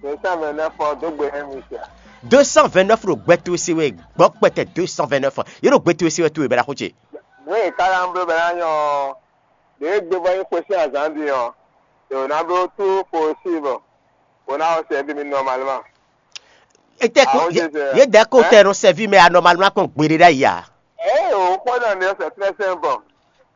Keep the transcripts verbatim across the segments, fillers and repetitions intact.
Deux cent vingt-neuf ɔ dó gbe nú mi sia. Deux cent vingt-neuf ɖo gbɛ towe se wɛ, gbɔ kpɛtɛ deux cent vingt-neuf. Yě ɖo gbɛ towe se wɛ towe bɛ ɖaxó ce. Nǔ e ka ná bló bɛ ná nyɔ ɔ́, ɖě e gbe bɔ nyí xwe sín azǎn din ɔ́, è wǒ ná bló tout possible bó ná wɔ sɛ́ bí mi normalement. Etɛ ko Àwọn yé jẹjẹ. Yé dɛ ko Ɛ? Tɛ nɔ sɛvi mɛ anormal ná kɔn gbeɖe ɖ'ayǐ a? Ɛ o, kpɔ́ nɔ ní c'est très simple.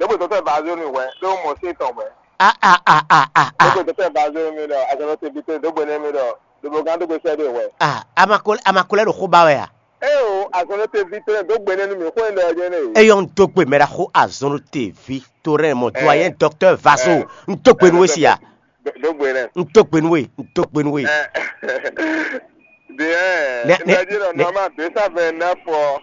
Dókòtò tɛ bá zó mi wɛ, ló mɔ sí tɔn wɛ. A a a a a a. Dókòtò tɛ bá zó mi ɖɔ, azɔlɔ tɛ bi tɛ dógbe nɛ mi ɖɔ, dóbogán dógbe sɛ ɖe wɛ. A amakolɛ amakolɛ ɖo xó ba wɛ a? Ɛ o, azɔlɔ tɛ bi tɛ dógbe nɛ mi xó ɛ lɛ jɛ ne. Eyɔn dógbe mɛ ɖa xó azɔn ɖo te vi to rɛ mɔ do ayɛ dɔktɔ vaso. N dógbe nu we si a? Dógbe nɛ. N dógbe nu we, n dógbe nu we. Bien, ne ne ne. Normal deux cent vingt-neuf ɔ.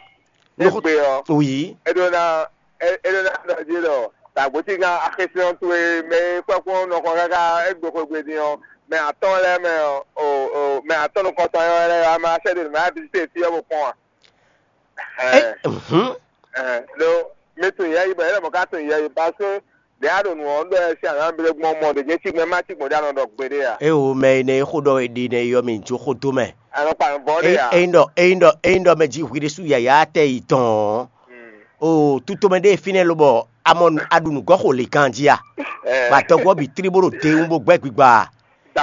Égbé ɔ́, oui. É ɖó ná é é ɖó ná ɖɔ jí ɖɔ dǎgbócí gán axéfín ɔ́ towe mɛ e kpɛ́kpɔ́n nɔ xɔ káká égbé xwegbe din ɔ́, mɛ atɔ́ɔ́n lɛ́ɛ mɛ ɔ́, o o mɛ atɔ́ɔ́n nukɔntɔn ɔ́ lɛ́ɛ ɔ́, a ma sɛ́ ɖo nǔ ma visité fí ɔ́ bo kpɔ́n a? Ɛ Ɛɛ, hǔn. Ɛɛ, ɖó mi tunwun yɛ yi bɔ yɛ lɛ mɔ ká tunwun yɛ yi parce que ɖě a ɖo nǔ ɔ́ ɖɔ ɛ sín ahan bílé gbɔn mɔ ɖě jɛ́n cí gbɛn má cí gbɔn ɖó a nɔ ɖɔ gbeɖé a? Ée o mɛ énɛ́ e xó ɖɔ we ɖi nɛ yɔ mì jó xó dó mɛ. A nɔ kpa nǔ vɔ́ ɖé a? Ényí ɖɔ ényí ɖɔ ényí ɖɔ mɛ jí hwi ɖésú yǎyá tɛ yi tɔn ɔ́, o tutomɛ ɖé e fínɛ́ lobɔ a mɔ a ɖu nǔgɔ́ xo lě ganjí a? Bɔ atɔgɔ́ bǐ tlí bó ɖo dewún bó gbɛ́ gbigba a?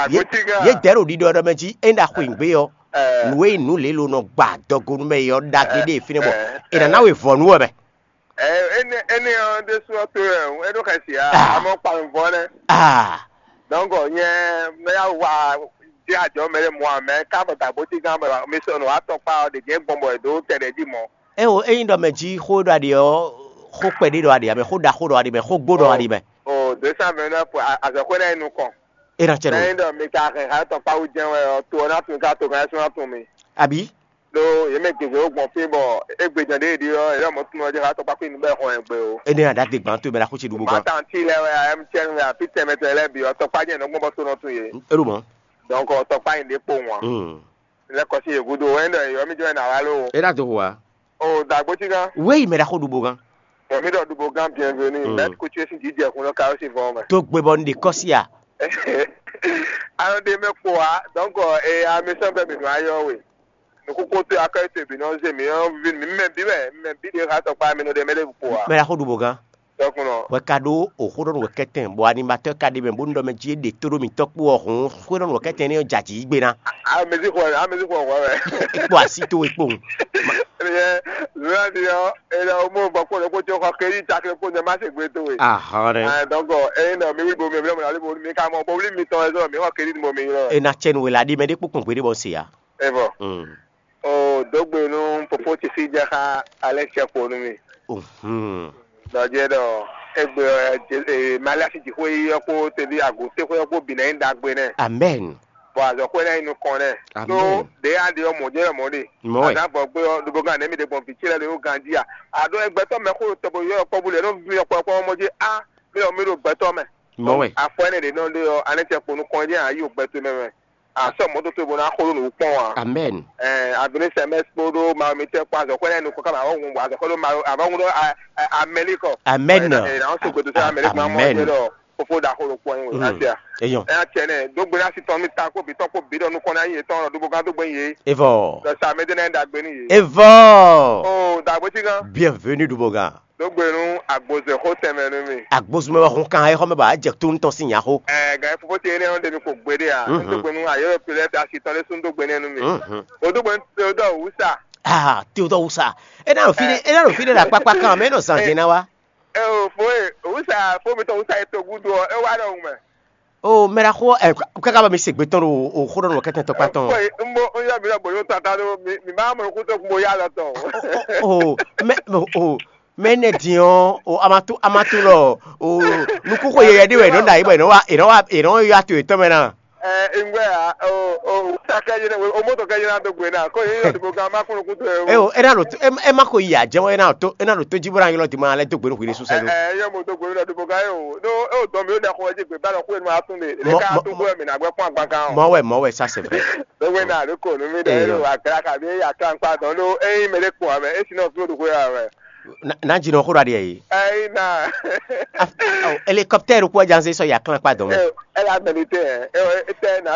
Yě dɛ̌ ɖo ɖiɖɔ ɖɔ mɛ jí ényí ɖo axweyǐgbe ɔ́, nǔ e nyí nǔ lě lo nɔ gba adɔgo nú mɛ é ɔ́ ɖagbe ɖé e fínɛ́ bɔ è nǎ ná we vɔ̌ nú wɛ mɛ. Ɛ, énɛ́ énɛ́ ɔ́ ɖésú ɔ́ to wɛ é ɖo xɛ si ǎ, amɔ kpa nǔvɔ́ nɛ́. Ah, Donc nyɛ mɛ ya wa jɛ ajɔ mɛ ɖé mɔ amɛ ká bɔ dagbo tí gán bɔ mi sɔ nɔ atɔkpa ɔ́ ɖě jɛ gbɔn bɔ è dó tɛ ɖě jí mɔ. É o, ényí ɖɔ mɛ jí xó ɖɔ aɖi ɔ́, xó kpɛɖé ɖɔ aɖi mɛ, xó ɖaxó ɖɔ aɖi mɛ, xó gbó ɖɔ aɖi mɛ. O deux cent vingt-neuf azɔ̌xwé ná yi nukɔn. É ná cɛ nɔ. Ényí ɖɔ mi ka hɛn ha tɔkpa wú jɛ́n wɛ ɔ́, to ɔ́ ná tun ká to gán ɛ sún ná tun mi. Àbí? Ɖó yě mɛ gěgé wó gbɔn fí bɔ égbé jɛ́n ɖě e ɖi ɔ́, yě lɔ mɔ tunɔ jɛ xá tɔkpá xwé nǔ bɔ ɛ xɔ ɛ gbe o. Énɛ́ aɖǎ dé gbǎn towe bɔ é ná xó ce ɖu bó gán. Bátàn tí lɛ́ɛ wɛ a M T N wɛ a P T M T lɛ́ɛ bǐ ɔ́, tɔkpá jɛ́n nɔ gbɔn bɔ to nɔ tun yě. É ɖo mɔ̌. Donc tɔkpá nyi ɖě kpo wǎn. Mm. Lɛ́ kɔ sín yě gúdo wɛ ɖɔ yɔ́mí jɔ́ ɛ nǎ wá ló. É ná dó hu ǎ. O dǎgbó cí gán. Wéyi mɛ ɖaxó ɖu bó gán. Yɔ́mí ɖɔ ɖu bó gán bienvenu. Mm. Mɛ kútú sín jǐjɛ hun lɔ ka ó sì vɔn mɛ. Tó gbe bɔ un ɖe kɔ́ sí a? Anɔ ɖe mɛ kpo ǎ, donc e amisɔn bɛ mi nɔ ayɔ we. Nukúkú tó akɔ ètò ìbí náà zé mi ɔ́ vi mi mɛ bí wɛ mi mɛ bí ɖe xá tɔkpá mi nɔ ɖe mɛ ɖe kpo ǎ. Mɛ ɖaxó ɖu bó gán. Tɔkùnɔ. Wɛ ka ɖó òxó ɖɔnú wɛ kɛtɛn bɔ animatɔ́ ka ɖe mɛ bónú ɖɔ mɛ jí é ɖe tó ɖó mitɔ́ kpó ɔ́ hǔn xó ɖɔnú wɛ kɛtɛn énɛ́ ɔ́ jɛ jǐ gbe ná. Amezi xɔ amezi xɔ xɔ wɛ. Kpó así towe kpowun. Eye zɔnadi ɔ eye o mo bɔ kpó ɖokpó tí ó xɔ kéyí cakle kpó nyɛ má se gbé towe. Ahɔn ɖe. Ɛ donc eye nɔ mi wí bo mi mi mi mi ka mɔ bó wlí mi tɔn ɛ zɔ mi xɔ kéyí mo mi ylɔ. Ena tsɛnu wela ɖi mɛ ɖé kpó kpɔn gbé ɖé bɔ se ya. Evɔ. Mm. O dó gbe nú fofó ce sí jɛ xá alɛ cɛ kpo nú mi. Mhm. Dɔjɛ ɖɔ egbe ɔ e mali asi dziƒo yi ɔ́ kpó tevi agǔtéxwé ɔ́ kpó bǐ ná nyí ɖagbe nɛ. Amen. Bɔ azɔ̌xwé ná nyí nukɔn nɛ. Amen. Ɖó ɖě a ɖe ɔ́ mɔ̌ jɛ mɔ̌ ɖe. Mɔ̌ wɛ. Azǎn vɔ gbé ɔ́ ɖobo gán nɛ̌ mi ɖe gbɔn vǐ ce lɛ́ɛ ɖo ganjí a? A ɖó gbɛtɔ́ mɛ xó tɔgbo yɔ́ kpɔ́ bú lɛ nú mi ɔkpɔ́kpɔ́ mɔ̌ jɛ á mi ɔ mi ɖo gbɛtɔ́ mɛ. Mɔ̌ wɛ. Afɔ ɛnɛ ɖě nɔ ɖe ɔ́, anɛ cɛ kpo nukɔn jɛ a yí o gbɛtɔ́ mɛ mɛ. A sɔ́ mɔ̌ dó towe bó ná xo ɖó nǔ kpɔ́n ǎ. Amen. Ɛɛ Abinɛ sɛmɛs kpódó Mawu mitɛ kpó azɔ̌xwé lɛ́ɛ nukɔn ká bɔ avɔ́ hun azɔ̌xwé ɖó Mawu avɔ́ hun ɖó Amɛlikɔ. Amen. Ɛ ná sɔ́ gbɛdó sɔ́ Amɛlikɔ ná mɔ Amen. Jɛ ɖɔ fofo ɖaxó ɖo kpɔ́n nyi wò Mhm. Asia. Eyɔn. Ɛ ná tiɛ nɛ dó gbe ná si tɔn mi ta kó bǐ tɔn kó bǐ ɖɔ nukɔn ná nyi yětɔn ɖɔ dóbó gán dó gbé nyi yě. Evɔ. Ɖɔ sa mɛ dé ná nyi ɖagbe nyi yě. Evɔ. O dàgbé tí gán. Bienvenue ɖu bó gán. Dó gbe nú agbozɛxó tɛnmɛ nú mi. Agbozumɛ wɛ hun kan exɔ mɛ ba jɛ to ŋutɔ sín nyaxó. Ɛɛ gǎn fofó ce énɛ́ ɔ́ ɖe mi ko gbeɖé a? Mhm. Dó gbe nú ayɔ́yɔ pilɛ fɛ asi tɔn lé sún dó gbe nɛ́ nú mi. Mhm. O dó gbe nú Theodore Wusa. Ah, Theodore Wusa. E na ɖo fi ɖe, e na ɖo fi ɖe le akpakpa kan mɛ, e nɔ zan jɛ na wa. Ɛ o fo e Wusa fo mi tɔn Wusa e to gúdo ɔ, e wá ɖɔhun mɛ. O mɛ ɖaxó ɛ kaka bɔ mi se gbe tɔn ɖo o xó ɖɔ nɔ kɛtɛn tɔkpa tɔn. Ko n bo n yɔ mi ɖɔ gbolo tata ɖo mi mi ma mɔ nukun to kun bo ya lɔ tɔn. O mɛ o mɛ nɛ din ɔ o amatu amatu lɔ o nukúxo yɛyɛ ɖé wɛ nɔ ɖa yi bɔ yɛ nɔ wa yɛ nɔ wa yɛ nɔ yɔ ato yɛtɔn mɛ na. Ɛ ŋgbɛ a o o sakɛ yi o moto kɛ yi na do gbe na ko yi yɔ dibo gan ma kunu kutu e o. E o e na ɖo to e ma ko yi a jɛ wɔ e na ɖo to e na ɖo to ji bɔ na yɔlɔ di ma lɛ do gbe ɖo hwi ɖe susɛ do. Ɛ yɔ mo do gbe na dibo gan ye o no e o dɔn mi o da xɔ ji gbe ba lɔ ko e ma tun de e ka tun ko mi na gbɛ kpɔn agba kan o. Mɔ wɛ mɔ wɛ sa c'est vrai. Dɔgbe na ale ko nu mi ɖe e lo agra kabi e ya kan kpa dɔn ɖo e yi mɛ ɖe kpɔn amɛ e si nɔ fi o ɖo ko ya wɛ. Na jinɔ xó ɖo aɖi yɛ yi. Ayi na. Helicoptère kó jan se sɔ ya kan kpa dɔn mɛ. Ɛ ɛ la mɛ ni tɛ ɛ ɛ tɛ na.